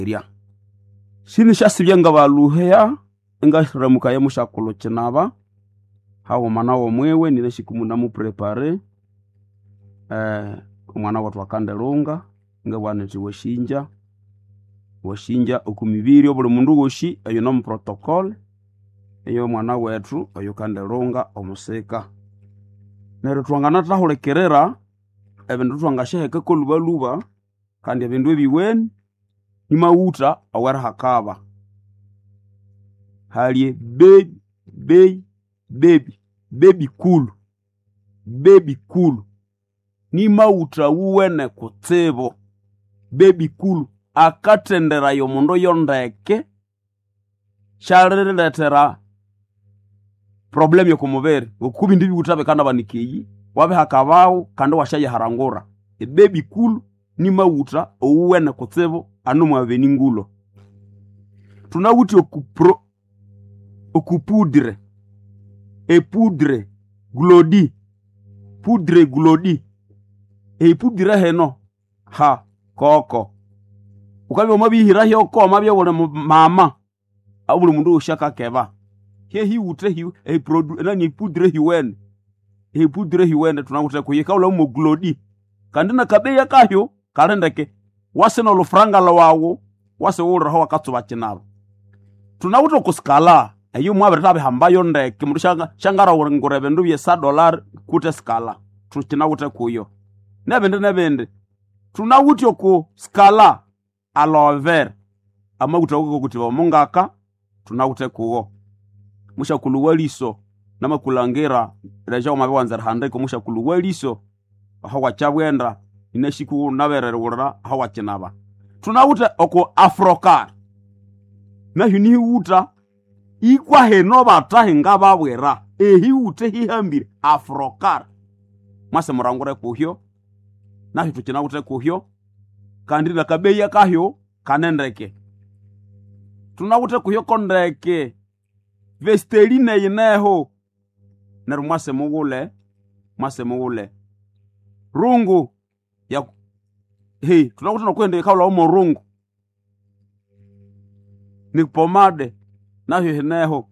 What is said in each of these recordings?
Erya Sinisyasibya ngabaluheya ingasiramukaye musyakulhu kinaba haghuma nawo mwiwe ninasi munamuprepare omwana wethu akandilunga ngabugha nithi wasinja wasinja oku mibiri obuli mundu wosi oyune omu protocol ey'omwana wethu oyukandilunga omusika. Neryo thwanganathahulikirira ebindu thwangasyaheka kolhubalhuba kandi ebindu ebiweni ni maghutha awerihakaba. Hali baby baby cool, baby cool ni maghutha awuwene kutsibu. Baby cool akathenderaya omundu yondeke syalirilethera problem oko mubiri ngoku ebindi bighutha bikanabanika eyi wabihakabawu kandi iwasyayiharangura. Ebaby cool ni maghutha owuwene kutsibu anu omwabeni ngulho. Thunawithe oku poudre, epoudre glodi, poudre glodi, epoudre hino ha koko wukabya wamabiyihira hyoko wamabya iwuli mama obuli mundu wosi akakeba hyehiwutha epoudre hiwene, epoudre hiwene thunawithe kuyo yikahulhawa mwo glodi kandi nakabeya kahyo kali ndeke wasi nolhufuranga lhwawu wasi wuwulire aho wakatsuba kinaba. Thunawithe oku scala eyo mwabirithaba ndeke omundu syangalhangura ebindu bye sa dollar kutse scala thukyinawithe kuyo nebindi nebindi. Thunawithe oku scala aloe vera amaghutha awakakotibwa omongaka thunawithe kuwo. Musyakulhu waliso namakulhangira leja wamabya iwanza erihandika omusyakulhu waliso aho wakyabwenda inasi wunabere erighulira aho wakyinaba. Thunawithe oku afrocar nahyo nihighutha ikwa hino bathahi ngababwira ehighutha ehihambire afrocar mwase murangure kuhyo nahyo thukyinawithe kuhyo kandi nakabeya kahyo kanendeke. Thunawithe kuhyo kondeke vesteline yineho neryo mwase mughule mwase mughule. Rungu ya thunawithe nokwindi yikahulhawa morungu ni pomade nahyo yineho.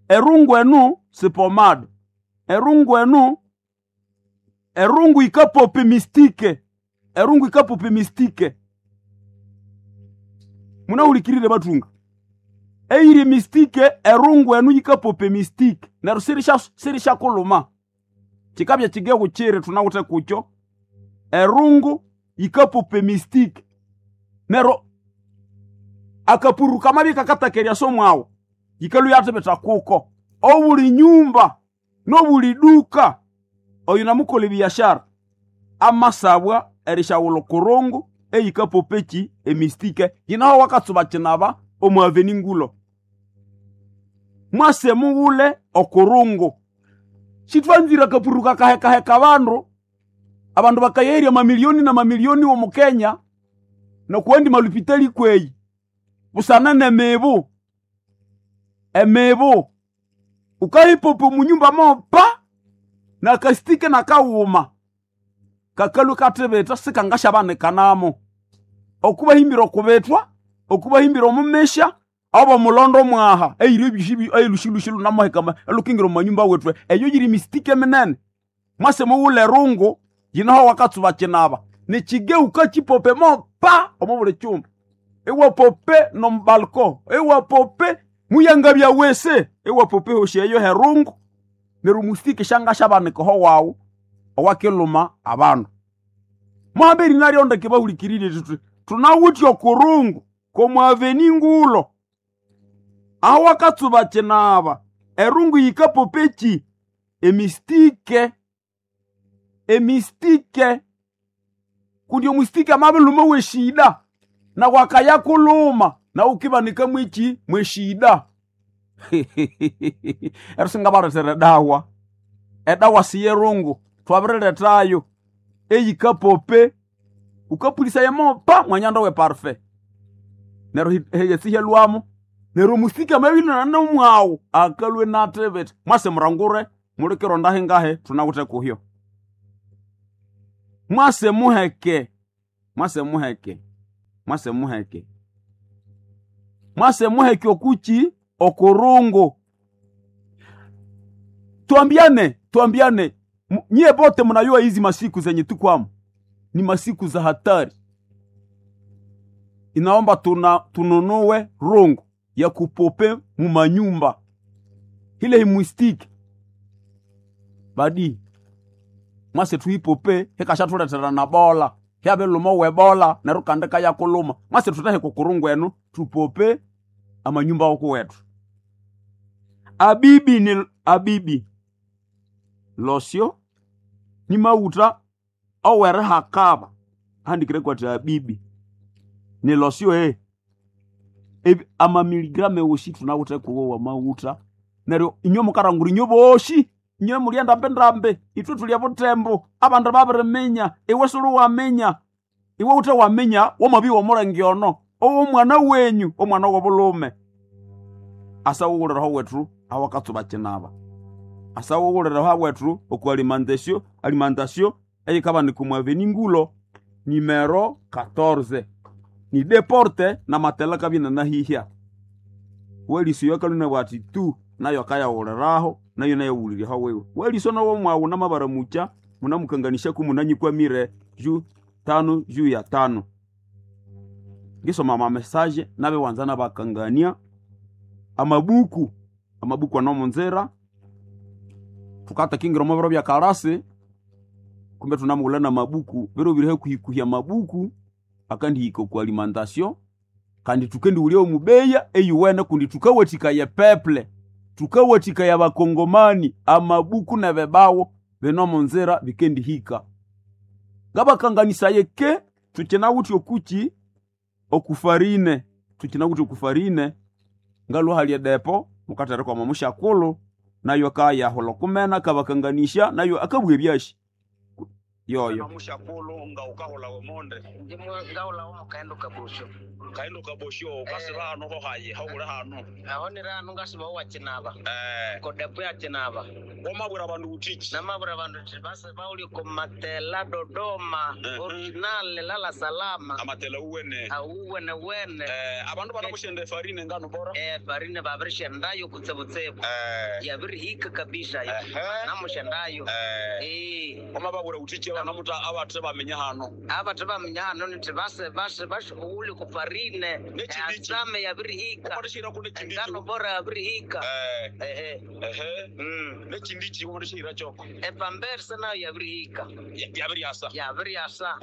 Erungu enu si pomade, erungu enu erungu yikapopa emistike, erungu yikapopa emistike. Munahulikirire bathunga eyiri emistike erungu enu yikapopa emistike neryo sirisyakulhuma kyikabya kyigeghu kyiri thunawithe kukyo erungu yikapopa emistike neryo akapuru kamabya ikakataka eryasa omwawu yikalhwa iyathibitha kuko. Obuli nyumba nobuli duka oyunamukolha ebiashara amasabwa erisyaghulha okurungu eyikapopa eki emistike yinaho wakatsuba kinaba omu aveni ngulho. Mwase mughule okurungu sithwanzire akapuru kakahekaheka abandu, abandu bakayerya amamilioni namamilioni omu Kenya nokuwandi malupitali kweyi busana nemibu, emibu wukayipopa omunyumba mopa nakasitike nakaghuma kakalhwa ikathibitha sikangasyabanikanamu. Okubahimbira okubithwa, okubahimbira omumisya obo mulondo mwaha eyiri ebyosi eyilhusilhusi lhunamuheka elhukingira omo manyumba wethu eyo yiri mistike minene. Mwase mughule erungu yinaho wakatsuba kinaba nikyigeu wukakyipopa mopa omo buli kyumba iwapope nomu balcon iwapope muyangabya wese iwapopa ehosi eyo herungu neryo omustike syangasyabanika oho wawu owakilhuma abandu. Muhambe erinaryo ndeke bahulikirire thuthi thunawithe okurungu komu aveni ngulho aho wakatsuba kinaba erungu yikapopa eki emistike, emistike kundi omustike amabilhuma weshida nawu akayakulhuma nawu wukibanika mweki mweshida. Neryo singabalethera edawa, edawa siyerungu thwabirilhethayo eyikapope wukapulisaya mopa mwanyanda we parufe neryo ehyesi ihyalhwamu neryo omustike amabya inane mwawu akalhwa inathibitha. Mwase murangure mulikironda hingahi thunawithe kuhyo. Mwase muheke, mwase muheke. Mwase muheke, mwase muheke okuchi okurungu. Twambiane, twambiane nyie bote mnayua hizi masiku zenye tukwamo ni masiku za hatari. Inaomba tununue rungu ya kupope mumanyumba ile himwistiki badi mwase tuipope hikashatuletera na bola hyabiluma webola neryo kandi kayakuluma. Mwase tutahe kukurungu enu tupope amanyumba okuwetu. Abibi ni abibi losyo ni mauta owerihakaba handikire kwati abibi ni losyo amamiligramu ewoshi tunawithe kuwo wa mauta. Neryo inywe mukarangura inywe boshi inywe mulya ndambe ithwe tulya butembo abandu babiriminya. Iwe suli waminya, iwe wuthe waminya wamabya womulenge ono owomwana wenyu omwana wobulhume. Asa wuwuliraho wethu awakatsuba kinaba, asa wuwuliraho wethu oku alimentation, alimentation eyikabanika omu avenue Ngulo numero 14 ni deporte na matela kabina nahihya weliso yakaluna ati tu nayo akayawuliraho nayo nayawuliryaho wewe weliso nowo mwawu namabaramucha munamukanganisha kumunanyikwamire juu tano juu ya tano. Ngisoma amamesaje nabewanza nabakangania amabuku amabuku anomunzira tukatakingira omu biro bya karasi kumbe tunamughulha namabuku biro biri hakuhikuhya amabuku akandihika oku alimentation kandi tukendighulya omubeya eyuwene kundi tukawathikaya epeple tukawathikaya abakongomani amabuku nebibawo bine omunzira bikendihika. Ngabakanganisaye ke tukinawithe okuki okufarine, tukinawithe okufarine ngalwa hali edepo mukatereka omo musyakulhu nayo akayahulha okumena akabakanganisya nayo akabugha ebyashi yoyo. Musyakulhu nga ukahulha omonde Ngahulha omukaghenda kabosyo. Kaghenda kabosyo ukasiba hanu hohayi hawuli hanu. Aho niri hanu ngasiba owakinaba. Kodepo ya kinaba. Wamabwira abandu uthiki? Namabwira abandu nthi basi bawulye oko matela Dodoma original lala salama. Amatela uwene. Awuwene wene. Abandu banamusyenda efarine nganu bora? Farine babirisyendayo kutsibutsibu. Yabirihika kabisa. Namusyendayo. Wamababwira uthiki abanamuta abathe baminya hanu? Abathe baminya hanu nithi basi basi basi owulye ku farine. Nekindiki. Asame yabirihika. Wamathisihira ku nekindiki. Engano bora yabirihika. Nekindiki wamathisihira kyoko. Epamperse nayo yabirihika. Yabiryasa. Yabiryasa.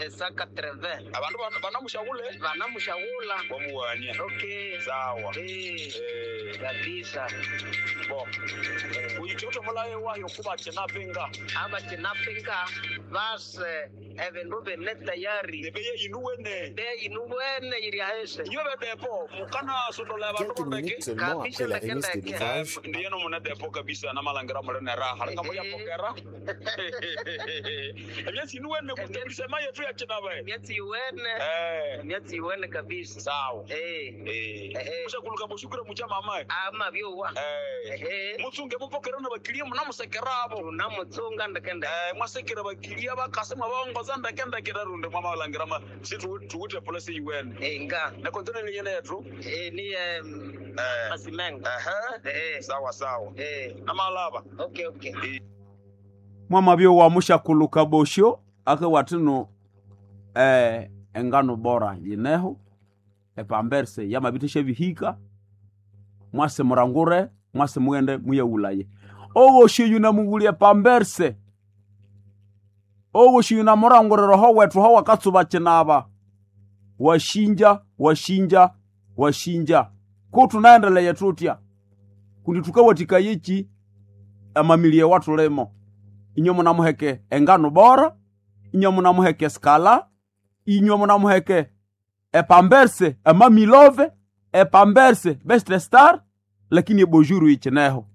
Saka treve. Abandu banamusyaghule? Banamusyaghula. Wamuwania. Okay. Sawa. Kabisa. Bo. Uyithe mulaye wayo kuba kinapinga. Aba kinapinga base ebindu bine tayari. Ebeye inuwene. Beye inuwene yiri ahese. Iyo bedepo mukana sotola abandu Quelques minutes seulement après la remise de l'ouvrage, Ndiye no mune depo kabisa namalangira mulene raha. Linga muya pokera. Emyatsi inuwene kutebirisema yetu ya kinaba. Emyatsi iwene. Emyatsi iwene kabisa. Sawa. Mushakuluka mushukure mucha mama. Ama byowa. Mutsunge mupokera nabakilia munamusekerabo. Tunamutsunga ndekende. Mwasekera bakilia bakase mwabongoza ndekendeke runde mwamalangira ma situ tuwite polisi iwene. Nga. Na kontena ni yene yetu? Ni Masimengo. Sawa sawa. Namalaba. Okay okay. Mwamabyo wa mushakuluka bosyo akawathino engano bora yineho epamberse yamabithisha bihika mwase murangure mwase mughende muyaghulaye. Owosi yunamughulya epamberse owosi yunamurangurira oho wethu ho wakatsuba kinaba washinja washinja washinja ko tunaendeleye tutya kundi tukawathikayeki amamilie wathulimo. Inywe munamuheke engano bora, inywe munamuheke skala, inywe munamuheke epamberse emamilove, epamberse best star, lakini ebojuru ichineho.